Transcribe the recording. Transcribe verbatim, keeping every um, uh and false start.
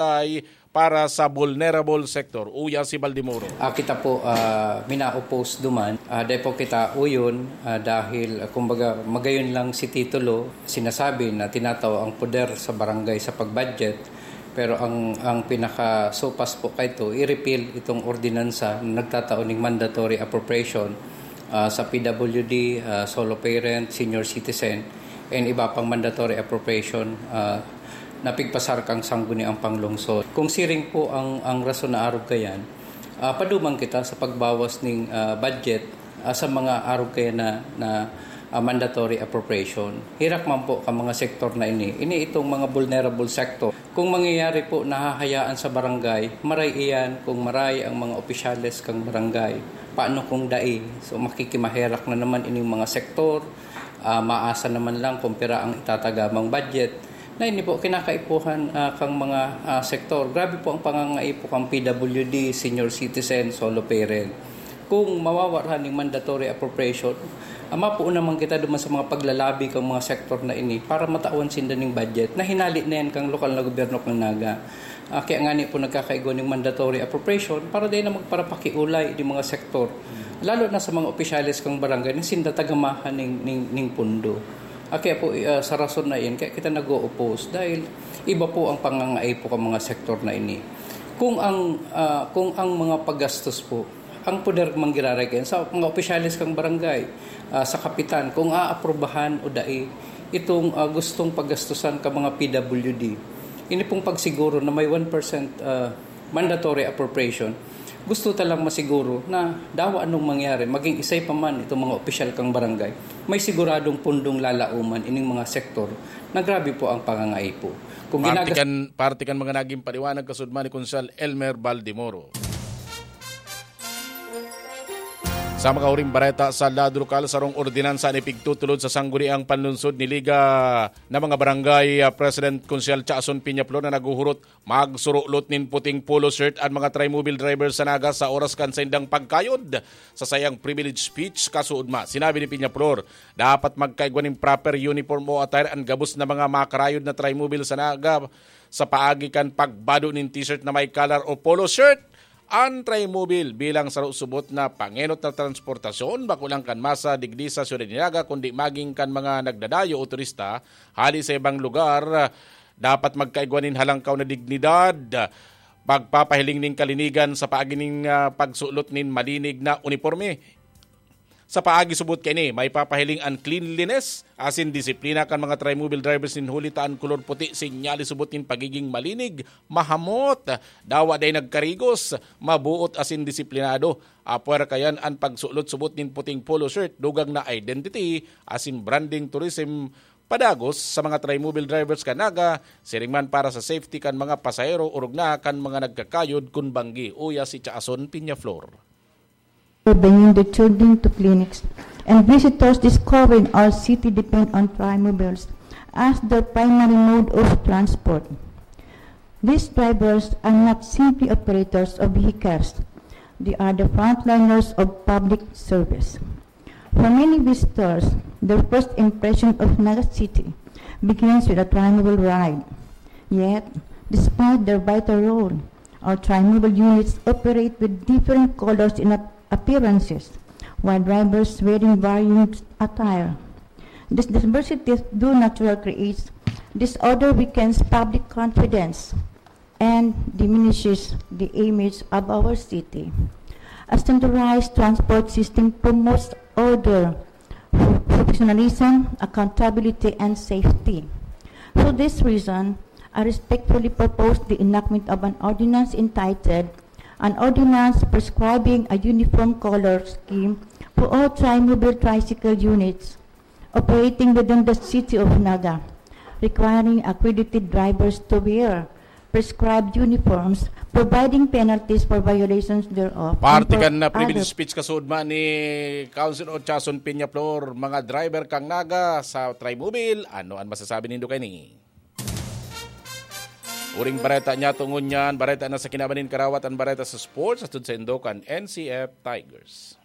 ay para sa vulnerable sector. Uya si Baldemoro. Ah, kita po, ah, mina-oppose duman. Ah, dai po kita uyon, ah, dahil, ah, kumbaga, magayon lang si titulo, sinasabi na tinatao ang poder sa barangay sa pag-budget. Pero ang, ang pinakasopas po kaito, i-repeal itong ordinansa na nagtatao ning mandatory appropriation, ah, sa P W D, ah, solo parent, senior citizen, and iba pang mandatory appropriation, ah, na pigpasar kan Sangguniang Panglungsod. Kung siring po ang, ang rason na arog kayan, ah, paduman kita sa pagbawas ning, ah, budget, ah, sa mga arog kayan na, na, ah, mandatory appropriation. Herak man po kan mga sektor na ini. Ini itong mga vulnerable sector. Kung mangyayari po nahahayaan sa barangay, maray iyan kung maray ang mga opisyales kan barangay. Paano kung dai? So, makikimaherak na naman ining mga sektor. Ah, maasa naman lang kung pira ang itatagamang budget. Na ini po, kinakaipuhan, ah, kang mga, ah, sektor. Grabe po ang pangangaipo kang P W D, senior citizen, solo parent. Kung mawawarhan ning mandatory appropriation, ah, mapuon naman kita duman sa mga paglalabi kang mga sektor na ini para matawan sinda ning budget na hinali na yan kang lokal na gobyerno kang Naga. Ah, kaya ngani po nagkakaigwa ning mandatory appropriation para dai na magparapakiulay di mga sektor, lalo na sa mga opisyales kang barangay na sinda tagamahan ning, ning, ning pundo. Ah, kaya po, ah, sa rason na iyan, kaya kita nag-o-oppose dahil iba po ang pangangaipo kang mga sektor na ini. Kung ang, ah, kung ang mga paggastos po, ang poder manggiraray kayan sa mga opisyales kang barangay, ah, sa kapitan, kung aaprubahan o dai itong, ah, gustong paggastusan ka mga P W D. Ini pong pagsiguro na may one percent, ah, mandatory appropriation, gusto ta lang masiguro na dawa anong mangyari, maging isay pa man itong mga opisyal kang barangay, may siguradong pundong lalauman ining mga sektor na grabe po ang pangangaipo. Kung Parte ginagas- kan, parte kan mga naging paliwanag kasudman ni Konsehal Elmer Baldemoro. Sa mga huring bareta sa lado lokal, sarong ordinansa an ipigtutulod sa Sangguniang Panlungsod ni Liga na mga barangay, ah, President Konsehal Chason Peñaflor na naghuhurot magsurulot nin puting polo shirt an mga trimobile driver sa Naga sa oras kan saindang pagkayod. Sa saiyang privilege speech, kasuodma, sinabi ni Peñaflor, dapat magkaigwa nin proper uniform o attire an gabos na mga makarayod na trimobile sa Naga sa paagi kan pagbado nin t-shirt na may collar o polo shirt. An trimobile bilang saro subot na pangenot na transportasyon, bako lang kan masa digdi sa siyudad ni Naga, kundi maging kan mga nagdadayo o turista hali sa ibang lugar, dapat magkaigwa nin halangkaw na dignidad, pagpapahiling nin kalinigan sa paagi nin, ah, pagsulot nin malinig na uniporme. Sa paagi subot kaini, maipapahiling an cleanliness asin disiplina kan mga trimobile drivers nin huli ta an kolor puti sinyales subot nin pagiging malinig, mahamot, dawa dai nagkarigos, mabuot asin disiplinado. Apwera kayan an pagsulot subot nin puting polo shirt, dugang na identity asin branding tourism padagos sa mga trimobile drivers kan Naga, siring man para sa safety kan mga pasahero orog na kan mga nagkakayod kun banggi, uya si Chason Peñaflor. Bringing the children to clinics, and visitors discovering our city depend on trimobiles as their primary mode of transport. These drivers are not simply operators of vehicles. They are the frontliners of public service. For many visitors, their first impression of Naga City begins with a trimobile ride. Yet, despite their vital role, our trimobile units operate with different colors and ap- appearances, while drivers wearing varying attire. This diversity, though natural, creates disorder, weakens public confidence, and diminishes the image of our city. A centralized transport system promotes order, professionalism, accountability, and safety. For this reason, I respectfully propose the enactment of an ordinance entitled, "An Ordinance Prescribing a Uniform Color Scheme for All Trimobile Tricycle Units Operating Within the City of Naga, Requiring Accredited Drivers to Wear Prescribed Uniforms, Providing Penalties for Violations Thereof," and Parte for kan na privilege other speech kasuodma ni Councilor Chason Peñaflor, mga driver kang Naga sa Trimobile, ano an masasabi nindo kaini? Uring bareta niya tungon niyan, bareta na sa kinaban nin karawat, an bareta sa sports, atod sa indo kan N C F Tigers.